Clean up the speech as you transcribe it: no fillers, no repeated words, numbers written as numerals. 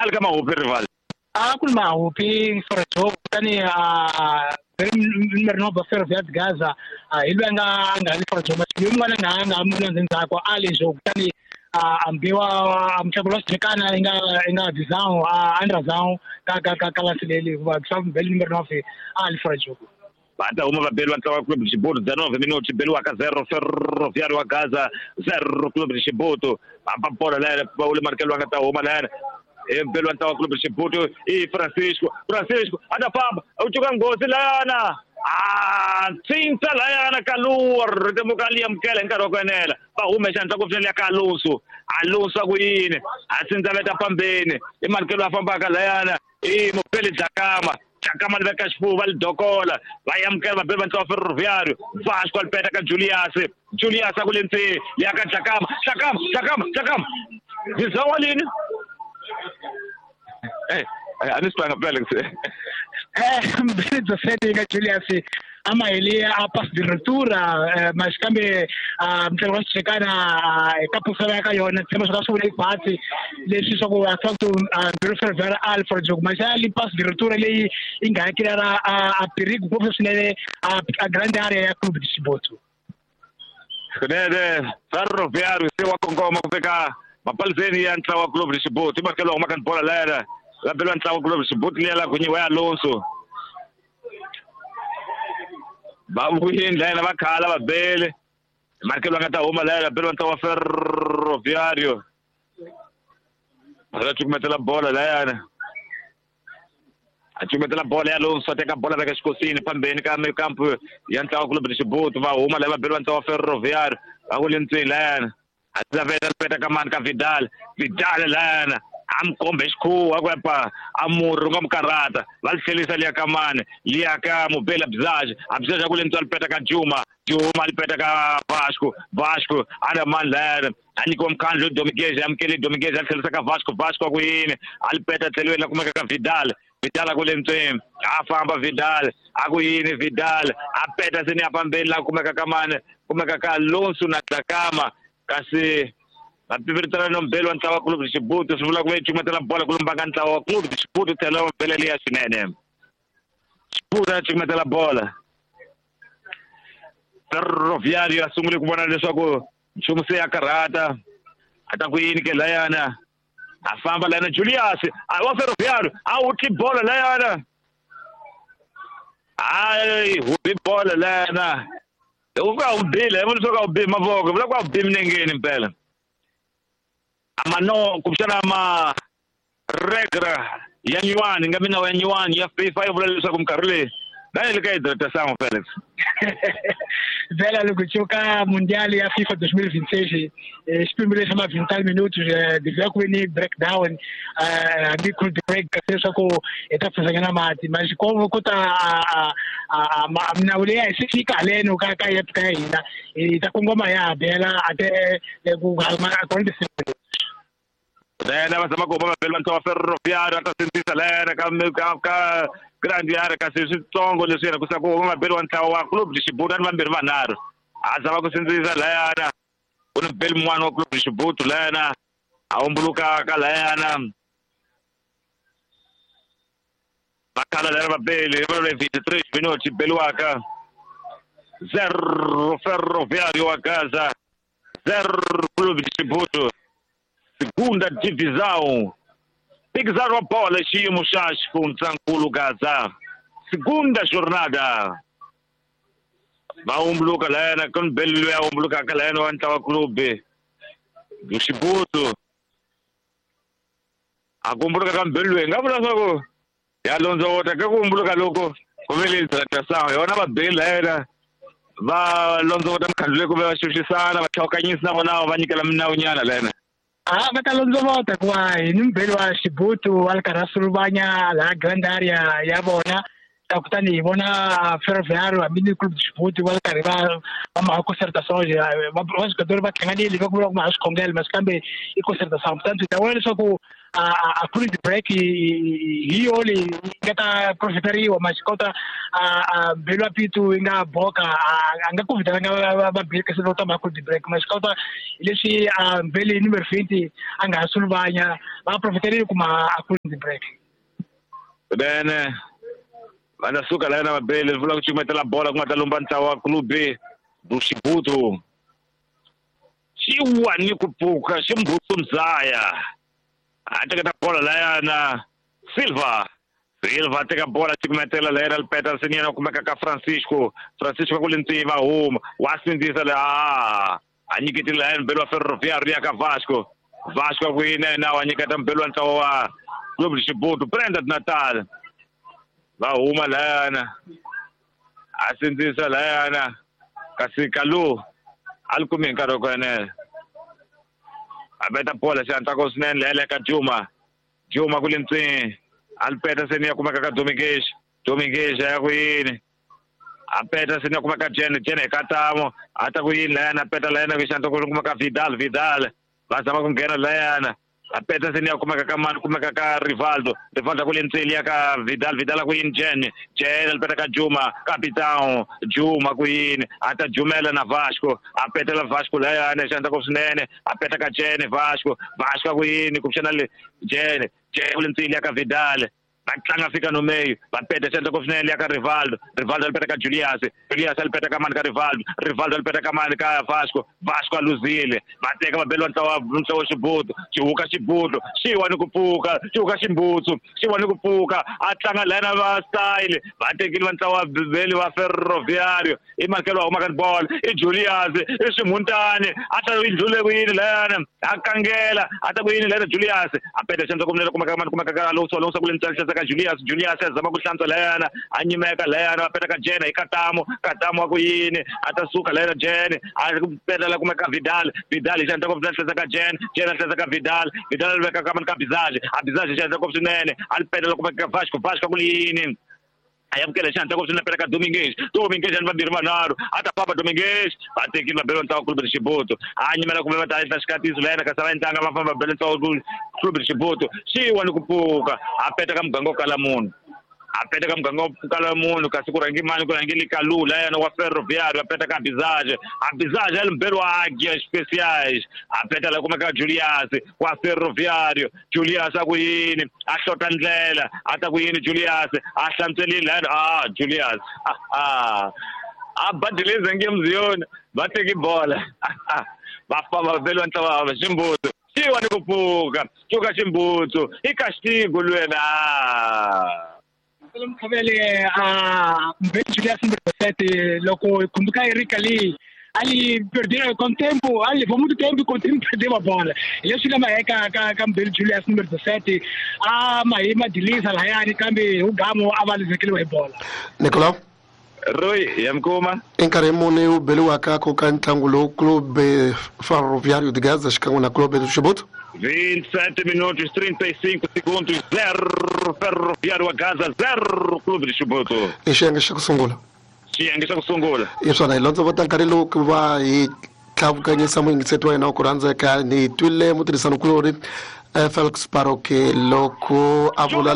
A le ka mahupi rival. A ku ri mahupi Ferroviário kutani a numero 9 Ferroviário Gaza hi loyi a nga li Ferroviário loyi mun'wana a nga nga ndzhaku a le jo kutani a mbiwa mutlangi wa xijekana i nga Visão a Andrazão ka landzeleli hikuva mbeli numero 9 a li Ferroviário. Va ta huma vabeli va ntlawa wa Clube de Chibuto 19 minutos beliwaka 0 Ferroviário wa Gaza 0 Clube de Chibuto. Va bola layana va ule markelo va nga ta huma layana mbeli wa ntlawa wa Clube de Chibuto i Francisco. Francisco a ta famba u cuka nghozi layana a tsintsa layana Kaluwa ritemuka li amukela hi nkarhi wa ku enela va hume xandla ku finela ka Alonso. Alonso a ku yini a tsintsa veta pambeni i markelo a fambaka layana i mupeli Dlakama. Dlakama li veka xifuva li dokola va amukela vabeli va ntlawa Ferroviário. Vasco a li peta ka Julius. Julius a ku le ndzeni ya ka Dlakama. Dlakama Dlakama Dlakama Visão alini a ni swi twanga Felix. Mbili 17 ka Julius a maheli a pass de ruptura mas kambe mutlangi wa xijekana eka pusela ka yona tshemba swa swi vula ibhatsi leswi swa ku a ku mbiri Ferroviário Alfred Joko mas a li pass de ruptura leyi yi nga hakelela a perigo ngopfu swinene a grande area ya Clube de Chibuto. Kunene Ferroviário se wa kongoma ku fika mapaliseni ya ntlawa wa Clube de Chibuto i makelo huma ka bola layana va beliwa ntlawa wa Clube de Chibuto liya la kunyiwa ya Alonso. Va vuyini layana va khala va bele markelo va nga ta huma layana beliwa ntlawa wa Ferroviário va cukumetela bola layana a cukumetela bola ya Alonso a teka bola veka xikosini phambeni ka mikampu ya ntlawa wa Clube de Chibuto va huma laya va beliwa ntlawa wa Ferroviário va ku le ntsweni layana a veta peta ka mani ka Vidal. Vidal layana a mi kombe xikhuwa ku epa a murhi u nga mi karhata va li tlhelisa liya ka mani liya ka Mubeli Abizaj. Abizaj a ku le ntswa li peta ka Juma. Juma li peta ka Vasco. Vasco a na mani layana a nyikiwa mukhandlu Dominguez amukele Dominguez a tlhelisa ka Vasco. Vasco a ku yini a li peta tlheliweni la kumeka ka Vidal. Vidal a ku le ntsweni a famba Vidal a ku yini Vidal a peta seni ya pambeni la kumeka ka mani kumeka ka Alonso na Dlakama kasi vapiviritana no mbeli wa ntlawa wa Clube de Chibuto swi vula ku ve cukumetela bola ku lumba ka ntlawa wa Clube de Chibuto tlhela wa mbele liya swinene. Chibuto a cukumetela bola Ferroviário a sungule ku vona leswaku nchumu se ya karhata a ta ku yini ke layana a famba layana Julius a wa Ferroviário a wutli bola layana a hubi bola layana u nga wu bile vula leswaku a wu bi mavoko vula ku a wu bi minengeni mpela amano kumbexana ma regra ya nyuwani nga minawu ya nyuwani ya FIFA yi vula leswaku minkarhi leyi na le ka hidratasango Felix. Vela loko cuka Mundial ya FIFA 2026 xipimbo lexi ma 20 minutos devia ku ve ni breakdown hambi cool break leswaku hi ta pfusanyana mati mas ko ta minawu leyi a hi se fika haleno ka ka ya ka hina hi ta kongoma ya bela ate ku Lena va zama ku huma vabeli va ntlawa Ferroviário a ta sindzisa lena ka grande area kasi switsongo leswi yena ku sa ku huma vabeli wa ntlawa wa Clube de Chibuto a ni vambirhi vanharhu a zama ku sindzisa layana ku ni beli mun'wana wa Clube de Chibuto layana a humbulukaka layana va khala layana vabeli va le 23 minutos beliwaka 0 Ferroviário wa Gaza 0 Clube de Chibuto. Segunda divisão Phikizano wa bola xiyimo xa xifundzankulu Gaza segunda jornada va humbuluka layana ku ni beli loyi a humbulukaka layana wa ntlawa club Xibutu a ku humbuluka ka mbeli loyi nga vula swa ku ya londzovota ka ku humbuluka loko ku vele hidratasango yona vabeli layena va londzovota mukhandlu leyi ku ve va xuxisana va tlhawukanyisa na vona va nyikela minawunyana layena. A va ta londzovota hikuva hi ni mubeli wa Xibutu wa le karhi a suluvanya laha grand area ya vona ta kutani hi vona Ferroviário hambi ni Clube de Chibuto va le karhi va maka concertação va swigatori va hlanganile va ku vula ku ma swikhongelo mas kambe i concertação kutani hi ta vona leswaku a cooling break hi yo leyi nga ta profiteriwa maxikota a Mbelu Pitu yi nga boka a nga ku vitananga va break se ta ma cooling break maxikota leswi a Mbelu number 20 a nga suluvanya va profiterile kuma a cooling break then va ta suka la na Mabele vula ku cukumetela bola ku nga ta lumba ntlawa wa Clube do Chibuto xiwa ni ku pfuka ximbutsu mzaya a teketa bola layana Silva Silva teka bola cukumetela layana Peterson yena kumeka ka Francisco Francisco ku le ntsiva huma wa sindzisa la a nyiketile layana Mbelu wa Ferroviário ya ka Vasco Vasco ku yinena wa nyiketa Mbelu wa ntlawa wa Clube do Chibuto Prenda de Natal va huma layana a sindzisa layana kasi Kalu a li kumi hi nkarhi wa ku enela a veta bola xihatla ko swinene leya ka Juma Juma ku le ntsini a li peta seni ya kumeka ka Dominguez Dominguez ya ku yini a peta seni ya kumeka Jene Jene hi katamo a ta ku yini layana a peta layana ku xihatla ku kumeka Vidal Vidal va zama ku nghena layana a peta seni ya kumeka ka mani kumeka ka Rivaldo Rivaldo ku le ntsini ya ka Vidal Vidal ku yini Jene Jene li peta ka Juma capitão Juma ku yini a ta jumela na Vasco a petela Vasco layana xihatla ko swinene a peta ka Jene Vasco Vasco ku yini kumbexana le Jene Jene ku le ntsini ya ka Vidal va tlanga fika no meio va peta xihatla ko swinene ya ka Rivaldo Rivaldo li peta ka Julius Julius li peta ka mani ka Rivaldo Rivaldo li peta ka mani ka Vasco Vasco a luzile va teka va beliwa ntlawa ntlawa Xibuto xihuka Xibuto xiwa ni ku pfuka xihuka Ximbutsu xiwa ni ku pfuka a tlanga lena va style va tekile va ntlawa beli va Ferroviário i Markelo wa huma ka bolo i Julius i Ximuntani a ta yi ndlule ku yini lena a kangela a ta ku yini lena Julius a peta xihatla ko kumeka mani kumeka ka Alonso Alonso ku le ntsala ka Julius Julius a zama ku hlantswa layana a nyimeka layana va peta ka Jene hi Katamo Katamo wa ku yini a ta suka layana Jene a petela kumeka Vidal Vidal hi xihatla ko hlantswa ka Jene Jene a hlantswa ka Vidal Vidal a veka ka mani ka Bizage a Bizage hi xihatla ko swinene a li petela kumeka ka Vasco Vasco ku yini a yamukela xihatla ko swinene peta ka Dominguez Dominguez ani vambirhi vanharhu a ta famba Dominguez va tekile va bela ntlawa Clube do Chibuto a nyimela kumbe va ta endla xikatiso layena kasi va endlanga va famba va bela ntlawa Clube do Chibuto xiwa ni ku pfuka a peta ka muganga wo kala munhu a peta ka muganga wo kala munhu kasi ku rhangi mani ku rhangile Kalu layena wa Ferroviário a peta ka Bizage a Bizage a li mbhelo wa Águias Especiais a peta la kumeka Julius wa Ferroviário Julius a ku yini a hlota ndlela a ta ku yini Julius a hlantswelile layena a Julius a badileza nge mziyoni va teki bola va famba va beliwa ntlawa wa Ximbutsu xiwa ni ku pfuka cuka Ximbutsu i castigo lwena Mkhavele a Mbelu Julius number 7 loko kumbuka Erika Lee ali perdeu com tempo, ali levou muito tempo e com tempo perdeu a bola. Leswi lama eka ka Mbelu Julius number 17 a mahima dilisa layani kambe ugamo a va lizekeliwe hi bola. Nicolau Roy ya mkuma i nkarhi muni wu beliwaka ku ka ntlangu lowu Clube Ferroviário de Gaza xikan'we na Clube do Chibuto? 27 minutos 35 segundos 0 Ferroviário a Gaza 0 Clube de Chibuto. I xiyenge xa ku sungula. Xiyenge xa ku sungula. Hi swona hi londzovota nkarhi lowu ku va hi tlhavukanyisa muyingiseti wa hina wa ku rhandzeka ni twile mutirhisanikulori Felix Paroke loko a vula